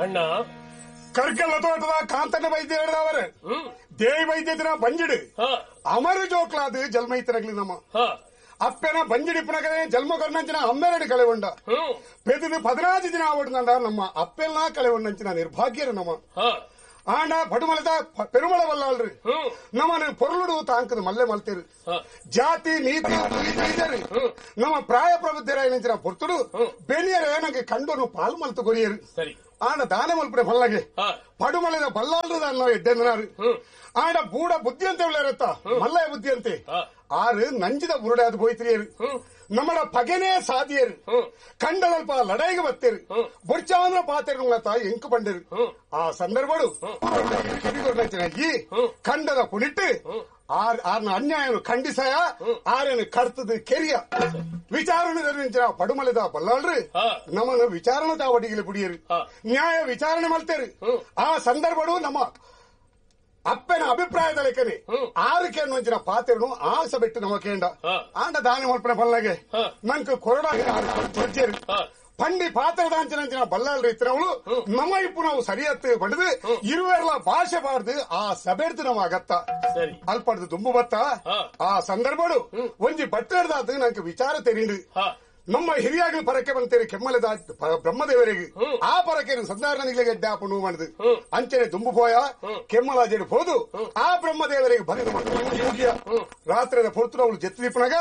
ಅಣ್ಣ ಕರ್ಕಲ್ಲ ತೋಟದ ಕಾಂತನ ವೈದ್ಯ ಹೇಳಿದವರು ದೇವಿ ವೈದ್ಯತಿನ ಬಂಜಿಡು ಅಮರ ಜೋಕ್ಲಾದ ಜಲ್ಮೈತರಗ್ಲಿ ನಮ್ಮ ಅಪ್ಪನ ಬಂಜಿಡಿಪ್ಪನಗನೇ ಜನ್ಮ ಕರ್ಣಂಚಿನ ಅಮ್ಮೆರಡು ಕಳೆಗೊಂಡ ಪೆದದು 14 ದಿನ ಆವಡ್ನಂಡ ನಮ್ಮ ಅಪ್ಪೆಲ್ಲ ಕಳೆಗೊಂಡಂಚಿನ ನಿರ್ಭಾಗ್ಯರು ನಮ್ಮ ಆಂಡ ಪಡುಮಲದ ಪೆರುಮಳ ವಲ್ಲಾಳ್ರಿ ನಮ್ಮನ್ನು ಪೊರುಳುಡು ತಾಂಕದ ಮಲ್ಲೆ ಮಲ್ತೇರು ಜಾತಿ ನೀತಿ ನಮ್ಮ ಪ್ರಾಯ ಪ್ರಬುದ್ಧರಾಯನಂಚಿನ ಪೊರ್ತುಡು ಬೆನಿಯರೇ ನಂಗೆ ಕಂಡೋನು ಪಾಲ್ ಮಲ್ತು ಕೊರಿಯರು ಆಂಡ ದಾನ ಮಲ್ಪುಡೆ ಬಲ್ಲಗೆ ಪಡುಮಲದ ಬಲ್ಲಾಳ್ರು ಅನ್ನೋ ಎಡ್ಡೆಂದನಾರು ಆಂಡ ಬೂಡ ಬುದ್ಧಿ ಅಂತ ಉಳ್ಳೇರತ್ತ ಮಲ್ಲಯ ಬುದ್ಧಿ ಅಂತೆ ಆರು ನಂಜಿದ ಬುರುಡೆ ಅದು ಬೋಯ್ತಿರಿಯರು ನಮ್ಮಡ ಪಗೆನೇ ಸಾಧಿಯರು ಕಂಡದಲ್ಪ ಲಡಾಯಿಗೆ ಬತ್ತೇರು ಬೊಡ್ಚಾಂದ್ರ ಪಾತೇರು ಎಂಕು ಬಂಡರು ಆ ಸಂದರ್ಭಡು ಈ ಕಂಡದ ಕುಣಿಟ್ಟು ಆರ್ನ ಅನ್ಯಾಯನು ಖಂಡಿಸಯ ಆರನು ಕರ್ತದ ಕೆರಿಯ ವಿಚಾರಣೆ ಪಡುಮಲದ ಬಲ್ಲಾಳ್ರಿ ನಮ್ಮನ್ನು ವಿಚಾರಣೆ ತಾವಡಿಗೆ ಬುಡಿಯರು ನ್ಯಾಯ ವಿಚಾರಣೆ ಮಲ್ತೇರು ಆ ಸಂದರ್ಭಡು ನಮ್ಮ ಅಪ್ಪನ ಅಭಿಪ್ರಾಯದ ಲೆಕ್ಕನೆ ಆರುಕೆ ಅನ್ನುವಂಚಿನ ಪಾತ್ರನು ಆಸೆ ಬಿಟ್ಟು ನಮ್ಮ ಕೇಂಡ ಆಂಡ ದಾನ ಮಲ್ಪನ ಪಲ್ಲಗೆ ನಂಗೆ ಕೊರಡ ಪಂಡಿ ಪಾತ್ರದಾಂಚಿನಂಚಿನ ಬಲ್ಲಾಳ್ರಿ ಇತ್ತಿನವಳು ನಮ್ಮ ಇಪ್ಪು ನಾವು ಸರಿಯತ್ತು ಪಡೆದು ಇರುವೆಲ್ಲ ಭಾಷೆ ಬಾರ್ದು ಆ ಸಬೆಡ್ದು ನಮ್ಮ ಅಗತ್ತ ಅಲ್ಪಡ್ದು ದುಂಬು ಬತ್ತ ಆ ಸಂದರ್ಭಡು ಒಂಜಿ ಬಟ್ಟೆಡ್ದಾತು ನಂಗೆ ವಿಚಾರ ತೆರೀಂಡು ನಮ್ಮ ಹಿರಿಯಾಗಲಿ ಪರಕ್ಕೆ ಬಂತೇರಿ ಕೆಮ್ಮಲದ ಬ್ರಹ್ಮದೇವರಿಗೆ ಆ ಪರಕ್ಕೆ ಸಂಧಾರಣನಿಗೆ ಗೆಡ್ಡೆ ಆಪಣು ಮಾಡಿದು ಅಂಚನೆ ದುಂಬು ಪೋಯ ಕೆಮ್ಮಲಾಜೆಡು ಹೋದು ಆ ಬ್ರಹ್ಮದೇವರಿಗೆ ಬರೆದು ರಾತ್ರಿದ ಪೊರ್ತುಡು ಅವಳು ಜೆತ್ತಿದೀಪನಾಗ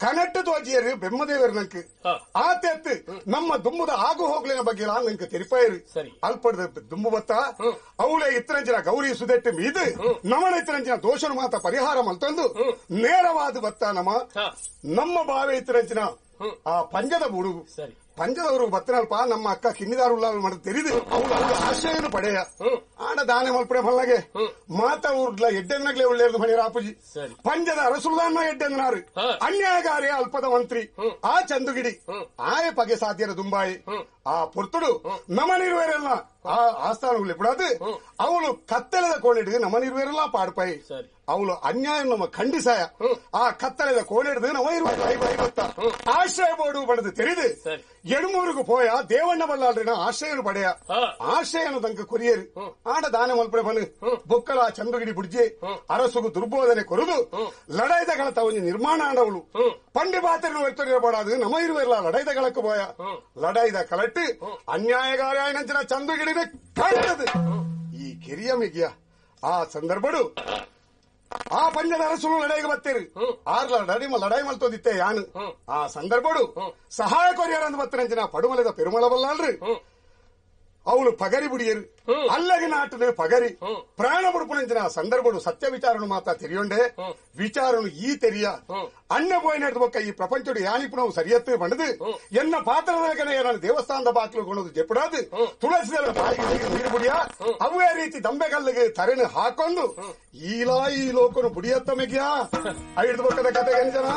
ಕನಟ್ಟು ತೋಜಿಯರು ಬ್ರಹ್ಮದೇವರು ನಂಗೆ ಆ ತೆತ್ತು ನಮ್ಮ ದುಂಬುದ ಆಗು ಹೋಗ್ಲಿನ ಬಗ್ಗೆ ನಂಗೆ ತೆರಿಪಾಯರು ಅಲ್ಪಡದ ದುಂಬು ಬತ್ತ ಅವಳೇ ಇತ್ತರಂಚಿನ ಗೌರಿ ಸುದೆಟ್ಟು ಮೀದು ನಮನ ಇತ್ತರಂಚಿನ ದೋಷನು ಮಾತ ಪರಿಹಾರ ಮಲ್ತಂದು ನೇರವಾದ ಬತ್ತ ನಮ್ಮ ನಮ್ಮ ಬಾವೆ ಇತ್ತರಂಚಿನ ಆ ಪಂಜದ ಬುಡು ಪಂಜದವರು ಬತ್ತನಲ್ಪ ನಮ್ಮ ಅಕ್ಕ ಕಿನ್ನಿದಾರುಲ್ಲ ಮಾಡ ತೆರಿದು ಅವಳು ಅವಳು ಆಶ್ರಯನು ಪಡೆಯ ಆಡ ದಾನೆ ಮಲ್ಪಡೆ ಮಲ್ಲಗೆ ಮಾತ ಊರ್ಲ ಎಡ್ಡೆನ್ನಗ್ಲೆ ಒಳ್ಳೆಯದು ಮಣಿರ ಆಪುಜಿ ಪಂಜದ ಅರಸುಲ್ದಾನ ಎಡ್ಡೆಂದನಾರು ಅನ್ಯಾಯಗಾರಿ ಅಲ್ಪದ ಮಂತ್ರಿ ಆ ಚಂದುಗಿಡಿ ಆಯ ಪಗೆ ಸಾಧ್ಯರ ದುಂಬಾಯಿ ಆ ಪೊರ್ತುಡು ನಮನಿರುವರೆಲ್ಲ ಆ ಆಸ್ಥಾನಗಳು ಬಿಡಾದು ಅವಳು ಕತ್ತಲೆದ ಕೋಣಿಡಿದು ನಮನಿರುವರೆಲ್ಲ ಪಾಡ್ಪಾಯಿ ಅವಳು ಅನ್ಯಾಯ ನಮ್ಮ ಖಂಡಿಸಾಯ ಆ ಕತ್ತಲೆದ ಕೋಣಿಡಿದು ನಮ ಇರುವ ಆಶ್ರಯ ಬೋಡು ಬಡದು ತೆರಿದು ಎಡುಮೂರುಗು ಪೋಯ ದೇವಣ್ಣ ಬಲ್ಲಾಳ್ರಿನ ಆಶ್ರಯನು ಪಡೆಯ ಆಶ್ರಯನು ತಂಕ ಕೊರಿಯರು ಆಡ ದಾನ ಮಲ್ಪಡೆ ಬನು ಬೊಕ್ಕಲ ಚಂದ್ರಗಿಡಿ ಬುಡ್ಜೆ ಅರಸುಗು ದುರ್ಬೋಧನೆ ಕೊರದು ಲಡಾಯ್ದ ಕಳತ ಒಂಜಿ ನಿರ್ಮಾಣ ಆಡವಳು ಪಂಡಿ ಪಾತ್ರನು ಒತ್ತೊರಿಯಬಾಡದು ನಮ ಇರುವೆಲ್ಲ ಲಡಾಯ್ದ ಕಳಕ್ಕೆ ಪೋಯ ಲಡಾಯ್ದ ಕಳಟ್ಟು ಅನ್ಯಾಯಗಾರಾಯನಂಚಿನ ಚಂದ್ರಗಿಡಿನ ಕಾಣದು ಈ ಕೆರಿಯ ಮಿಗಿಯ ಆ ಸಂದರ್ಭಡು ಆ ಪಂಜದ ಅರಸುಲು ಲಡಾಯಿಗೆ ಬತ್ತೇರು ಆರ್ಲ ಲಡಾಯಿ ಮಲ್ತೋದಿತ್ತೆ ಯಾನು ಆ ಸಂದರ್ಭಡು ಸಹಾಯ ಕೊರಿಯರಂದು ಬತ್ತರಂಚಿನ ಪಡುಮಲದ ಪೆರುಮಳ ಬಲ್ಲಾಳ್ರಿ ಅವಳು ಪಗರಿ ಬುಡಿಯರು ಅಲ್ಲಗೆ ನಾಟದ ಪಗರಿ ಪ್ರಾಣ ಬುಡುಪುನಂಚಿನ ಸಂದರ್ಭಡು ಸತ್ಯ ವಿಚಾರನು ಮಾತಾ ತೆರಿಯೊಂಡೆ ವಿಚಾರನು ಈ ತೆರಿಯ ಅಣ್ಣ ಪೋಯಿ ನಡೆದ ಬೊಕ್ಕ ಈ ಪ್ರಪಂಚಡು ಯಾನಿಪುನವು ಸರಿಯತ್ತು ಬಂಡದು ಎನ್ನ ಪಾತ್ರದ ನಾನು ದೇವಸ್ಥಾನದ ಬಾಗಿಲು ಕೊಣದು ಜೆಪುಡಾದು ತುಳಸಿದಳ ಬಾಯಿಗೆ ನೀರು ಬುಡಿಯ ಅವೇ ರೀತಿ ದಂಬೆಗಲ್ಲಿಗೆ ತರೆನು ಹಾಕೊಂಡು ಈಲಾ ಈ ಲೋಕನು ಬುಡಿಯತ್ತ ಮೆಗ್ಯಾ ಐದು ಬೊಕ್ಕದ ಕತೆ ಗಂಜನ.